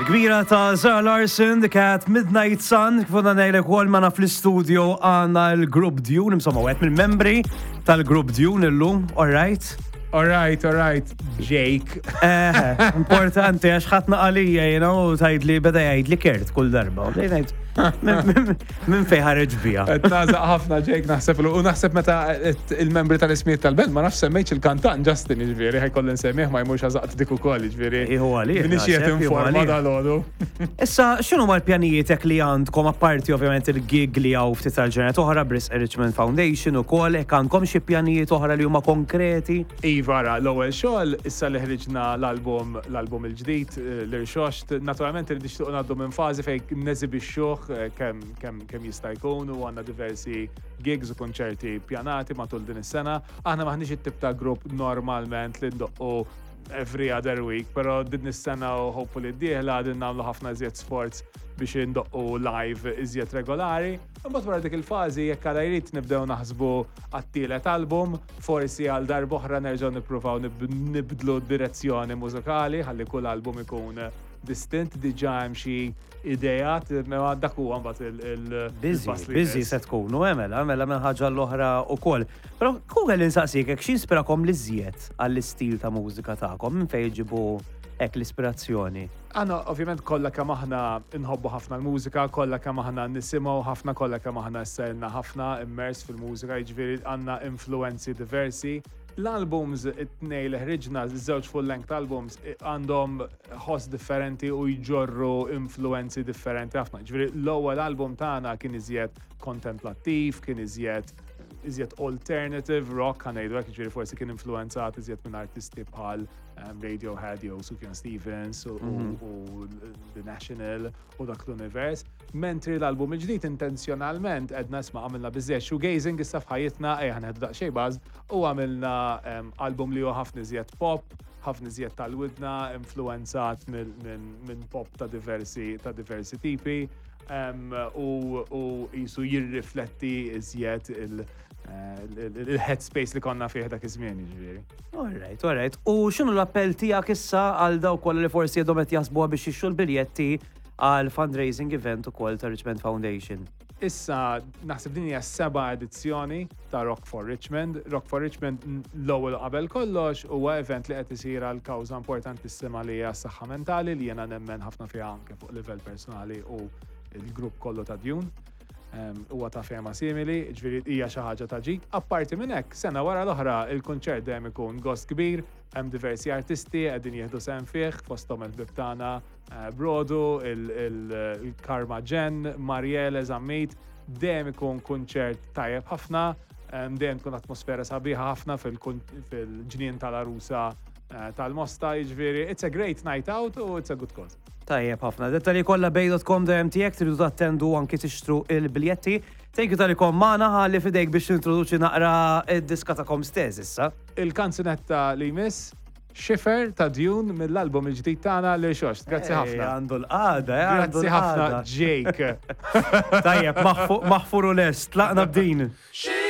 Il-kbira ta' Zara Larson, The Cat, Midnight Sun, kif għadna ngħidlek ukoll magħna fl-istudio għandna l-grupp Dune, insomma, wieħed mill-membri tal-grupp Dune illum, all right? All right, all right, Jake. Eh, importanti għax ħadd naqalija, you know, tgħidli beda jgħidli Kurt kull darba. U bdejt ngħid, Minn fej ħareġ bija. Qed nażaq ħafna Jake naħseb u naħseb meta il-membri tal-ismijiet tal-band ma nafx semmejtx il-kantant Justin jiġifieri ħajkolli nsemmih ma jmurx għażaqt dik ukoll jiġifieri. Iħu għalih. Minix qed informa dal-għodu. Issa x'inhu l-pjanijiet hekk li għandkom apparti ovvjament il-gig li hawn ftit tal-ġranet oħra Brisk Richmond Foundation ukoll hekk għandkom xi pjanijiet oħra li huma konkreti? Iva ara, l-ewwel xogħol issa li ħriġna l-album l-album il-ġdid l-Irxoxt, naturalment irid nixtiequ ngħaddu minn fażi fejn neżibixxuh eh, kemm kemm kemm jista' jkun u għandna diversi gigs u konċerti pjanati matul din is-sena. Aħna maħniex it-tip ta' grupp normalment li ndoqqu every other week, pero din is-sena u hopefully d-dieħla għadin nagħmlu ħafna iżjed sforz biex indoqqu live iżjed regolari. Imbagħad wara dik il-fażi jekk għala jrid nibdew naħsbu għat-tielet album, forsi għal darb'oħra nerġgħu nippruvaw nibdlu d-direzzjoni mużikali ħalli kull album ikun distint, diġà hemm xi ideat, imma dak huwa mbagħad il-pass li. Busy se tkunu, eh, mela, mela minn ħaġa l-oħra wkoll. Però kieku kelli nsaqsik hekk x'inspirakom l-iżjed għall-istil ta' mużika tagħkom, minn fejn iġibu hekk l-ispirazzjoni? Aħna ovvjament kollha kemm aħna nħobbu ħafna l-mużika, kollha kemm aħna nisimgħu ħafna, kollha kemm aħna issa ilna ħafna immers fil-mużika, jiġifieri għandna influwenzi diversi. L-albums it-tnej li ħriġna, żewġ full-length albums, għandhom ħoss differenti u jġorru influwenzi differenti ħafna. Jiġifieri l-ewwel album tagħna kien iżjed kontemplattiv, kien iżjed iżjed alternative rock, ħa ngħidu hekk, jiġifieri forsi kien influwenzat iżjed minn artisti bħal Radiohead jew Sufjan Stevens u mhm. The National u dak l-univers. Mentri l-album il-ġdid intenzjonalment edna isma' għamilna biżżejjed shoegazing issa f'ħajjitna ejja ħaneħdu daqsxejn baż u għamilna album li huwa ħafna iżjed pop, ħafna iżjed tal-widna, influenzat minn pop ta' diversi ta' diversi tipi u jisu jirrifletti iżjed il- il-headspace li konna fih dak iż-żmien, jiġifieri. All right, all right. U x'inhu l-appell tiegħek issa għal dawk kollha li forsi għadhom qed jaħsbuha biex jixtru l-biljetti għal fundraising event ukoll ta' Richmond Foundation? Issa naħseb din hija s-seba' edizzjoni ta' Rock for Richmond. Rock for Richmond l-ewwel qabel kollox huwa event li qed isir għal kawża importantissima li hija s-saħħa mentali li jiena nemmen ħafna fiha anke fuq livell personali u l-grupp kollu ta' Dune. Huwa ta' fehma simili, ġifieri hija xi ħaġa ta' ġid. Apparti minn hekk, sena wara l-oħra il-kunċert dejjem ikun gost kbir, hemm diversi artisti qegħdin jieħdu sehem fih, fosthom il-ħbieb tagħna eh, Brodu, il-Karma Jen, Mariele Zammit, dejjem ikun kunċert tajjeb ħafna, dejjem tkun atmosfera sabiħa ħafna fil-ġnien tal-arusa eh, tal-Mosta, jiġifieri it's a great night out u it's a good cause. Tajjeb ħafna. Dettalji kollha bay.com.mt jekk tridu tattendu anki tixtru il-biljetti. Thank you tal magħna ħalli fidejk biex tintroduċi naqra id-diska tagħkom stess issa. Il-kanzunetta li jmiss Xifer ta' Dune mill-album il-ġdid tagħna li xoxt. Grazzi ħafna. Għandu l-qagħda, eh, Grazzi ħafna Jake. Tajjeb, maħfur u lest, tlaqna b'din.